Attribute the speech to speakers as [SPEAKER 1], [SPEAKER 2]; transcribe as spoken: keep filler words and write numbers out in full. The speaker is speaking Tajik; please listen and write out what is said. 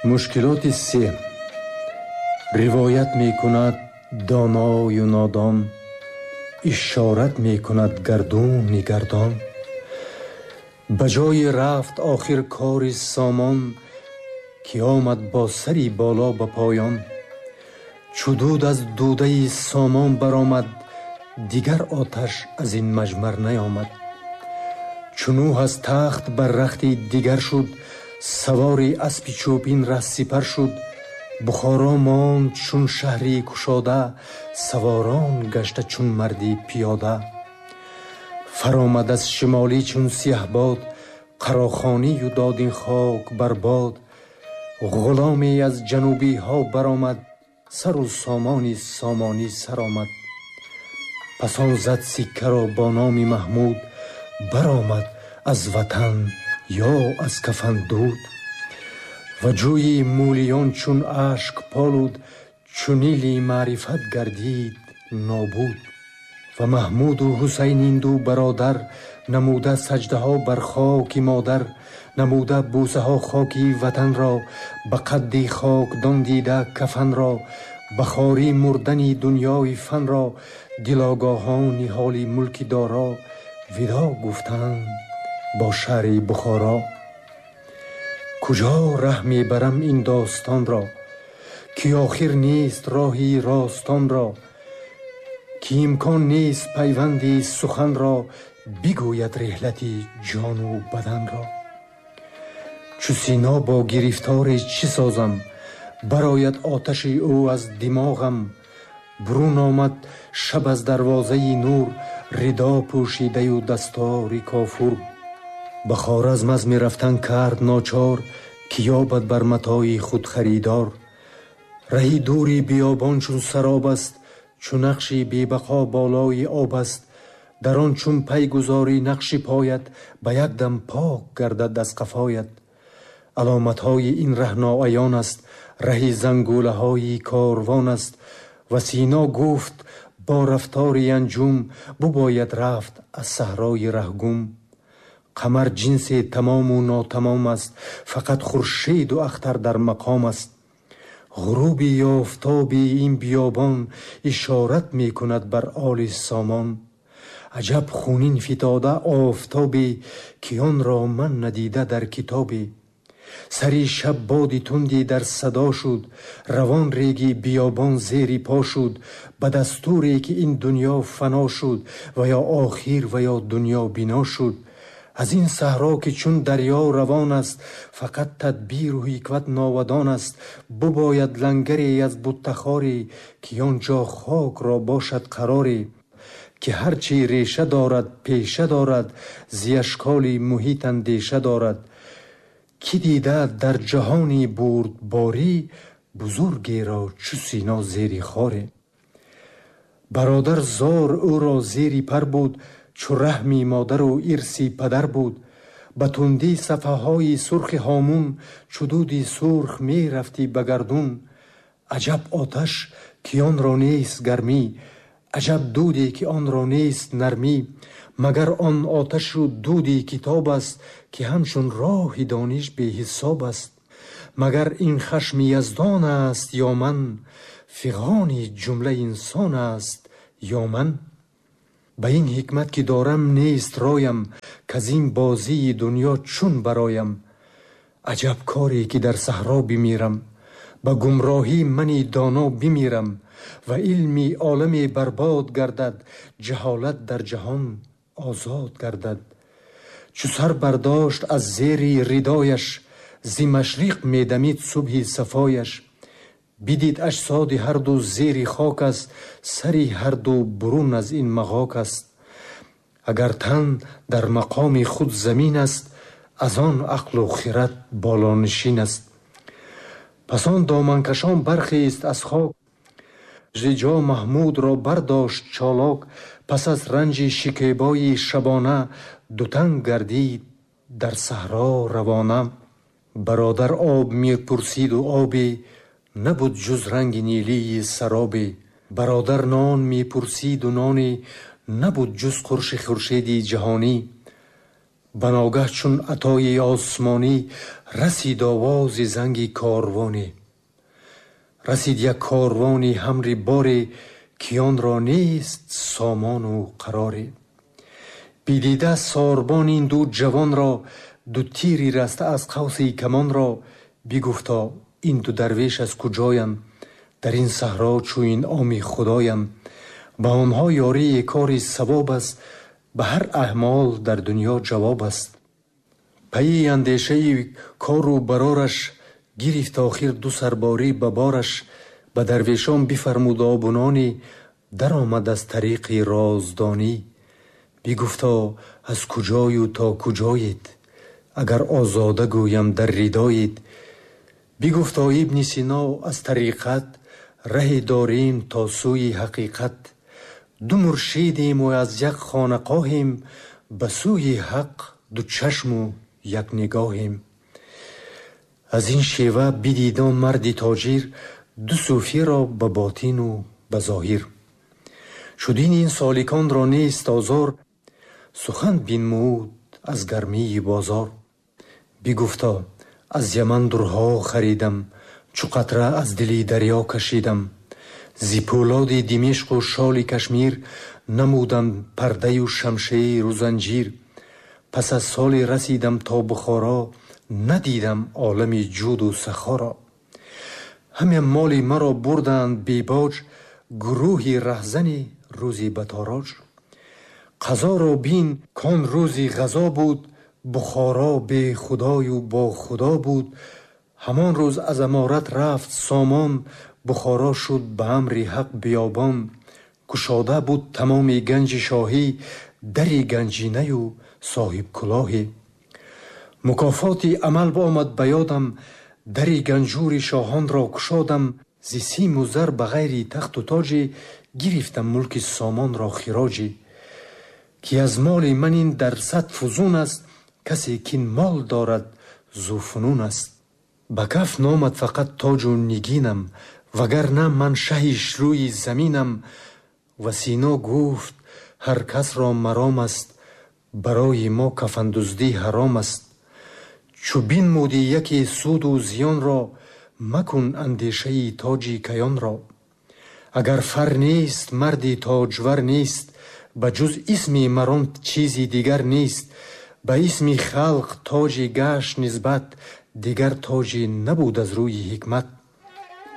[SPEAKER 1] Мушкилоти се. Ривоят мекунад доною нодон, ишорат мекунад гардуни гардон. Ба ҷои рафт охир кори сомон, ки омад бо сари боло ба поён. Чу дуд аз дудаи сомон баромад, дигар оташ аз ин маҷмар наёмад. Чу Нӯҳ аз тахт бар рахти дигар шуд, савори аспи чӯпин раҳ сипар шуд. Бухоро монд чун шаҳри кушода, саворон гашта чун марди пиёда. Фаромад аз шимолӣ чун сиҳбод, қарохонию дод ин хок бар бод. Ғуломе аз ҷанубиҳо баромад, сару сомони сомонӣ сар омад. Пас он зад сиккаро бо номи Маҳмуд, баромад аз ватан ё аз кафан дуд. Ва ҷӯи мӯлиён чун ашк полуд, чу Нили маърифат гардид нобуд. Ва Маҳмуду Ҳусайн ин ду бародар, намуда саҷдаҳо бар хоки модар, намуда бӯсаҳо хоки ватанро, ба қадди хокдон дида кафанро, ба хорӣ мурдани дунёи фанро, дилогоҳони ҳоли мулки доро, видо гуфтанд бо шаҳри Бухоро. Куҷо раҳ мебарам ин достонро, ки охир нест роҳи ростонро, ки имкон нест пайванди суханро, бигӯяд реҳлати ҷону баданро. Чу Сино бо гирифторе чӣ созам, барояд оташи ӯ аз димоғам. Бурун омад шаб аз дарвозаи нур, ридо пӯшидаю дастори кофур. Ба Хоразм аз мерафтан кард ночор, ки ёбад бар матои худ харидор. Раҳи дури биёбон чун сароб аст, чу нақши бебақо болои об аст. Дар он чун пай гузорӣ нақши поят, ба як дам пок гардад аз қафоят. Аломатҳои ин раҳ ноаён аст, раҳи зангулаҳои корвон аст. Ва Сино гуфт бо рафтори анҷум, бубояд рафт аз саҳрои раҳгум. Қамар ҷинсе тамому нотамом аст, фақат хуршеду ахтар дар мақом аст. Ғуруби офтоби ин биёбон ишорат мекунад бар оли сомон. Аҷаб хунин фитода офтобе, ки онро ман надида дар китобе. Сари шаб боди тунди дар садо шуд, равон реги биёбон зери по шуд. Ба дастуре ки ин дунё фано шуд, ва ё охир ва ё дунё бино шуд. Аз ин саҳро ки чун дарё равон аст, фақат тадбиру ҳикмат новадон аст. Бубояд лангаре аз буттахоре, ки он ҷо хокро бошад қароре. Ки ҳарчи реша дорад пеша дорад, зи ашколи муҳит андеша дорад. Ки дида дар ҷаҳони бурдборӣ, бузургеро чу Сино зери хоре. Бародар зор ӯро зери пар буд, чу раҳми модару ирси падар буд. Ба тундӣ сафҳаҳои сурхи ҳомун, чу дуди сурх мерафтӣ ба гардун. Аҷаб оташ ки онро нест гармӣ, аҷаб дуде ки онро нест нармӣ. Магар он оташу дуди китоб аст, ки ҳамчун роҳи дониш беҳисоб аст. Магар ин хашми яздон аст ё ман, фиғони ҷумла инсон аст ё ман. Ба ин ҳикмат ки дорам нест роям, каз ин бозии дунё чун бароям. Аҷаб коре ки дар саҳро бимирам, ба гумроҳӣ мани доно бимирам. Ва илми оламе барбод гардад, ҷаҳолат дар ҷаҳон озод гардад. Чу сар бардошт аз зери ридояш, зи машриқ медамид субҳи сафояш. Бидид аҷсоди ҳарду зери хок аст, сари ҳарду бурун аз ин мағок аст. Агар тан дар мақоми худ замин аст, аз он ақлу хират болонишин аст. Пас он доманкашон бархест аз хок, зи ҷо Маҳмудро бардошт чолок. Пас аз ранҷи шикебои шабона, дутан гардид дар саҳро равона. Бародар об мепурсиду обе, набуд ҷуз ранги нилии саробе. Бародар нон мепурсиду ноне, набуд ҷуз қурши хуршеди ҷаҳонӣ. Ба ногаҳ чун атои осмонӣ расид овози занги корвонӣ. Расид як корвони ҳамри боре, ки онро нест сомону қароре. Бидида сорбон ин ду ҷавонро, ду тири раста аз қавси камонро, бигуфто ин ду дарвеш аз куҷоянд, дар ин саҳро чу инъоми худоянд. Ба онҳо ёрии кори савоб аст, ба ҳар аъмол дар дунё ҷавоб аст. Пайи андешаи кору барораш гирифт охир ду сарборӣ ба бораш. Ба дарвешон бифармуд обунони, даромад аз тариқи роздонӣ. Бигуфто аз куҷою то куҷоед, агар озода гӯям дар ридоед. Бигуфто Ибни Сино аз тариқат, раҳе дорем то сӯи ҳақиқат. Ду муршидем ва аз як хонақоҳем, ба сӯи ҳақ ду чашму як нигоҳем. Аз ин шева бидид он марди тоҷир, ду сӯфиро ба ботину ба зоҳир. Чудин ин соликонро нест озор, сухан бинмуд аз гармии бозор. Бигуфто аз Яман дурҳо харидам, чу қатра аз дили дарё кашидам. Зи пӯлоди Димишқу шоли Кашмир намудам пардаю шамшеру занҷир. Пас аз соли расидам то Бухоро, надидам олами ҷуду сахоро. Ҳаме моли маро бурданд бебоҷ, гурӯҳи раҳзани рӯзи батороҷ. Қазоро бин кон рӯзи ғазо буд, Бухоро бе худою бо худо буд. Ҳамон рӯз аз аморат рафт сомон, Бухоро шуд ба амри ҳақ биёбон. Кушода буд тамоми ганҷи шоҳӣ, дари ганҷинаю соҳибкулоҳӣ. Мукофоти амал омад ба ёдам, дари ганҷури шоҳонро кушодам. Зи симу зар ба ғайри тахту тоҷӣ, гирифтам мулки сомонро хироҷӣ. Ки аз моли ман ин дар сад фузун аст, касе кин мол дорад зуфунун аст. Ба каф номад фақат тоҷу нигинам, вагарна ман шаҳи рӯи заминам. Ва Сино гуфт ҳар касро маром аст, барои мо кафандуздӣ ҳаром аст. Чу бинмудӣ яке суду зиёнро, макун андешаи тоҷи каёнро. Агар фар нест, марди тоҷвар нест, ба ҷуз исми марон чизи дигар нест. Ба исми халқ тоҷи гашт нисбат, дигар тоҷи набуд аз рӯи ҳикмат.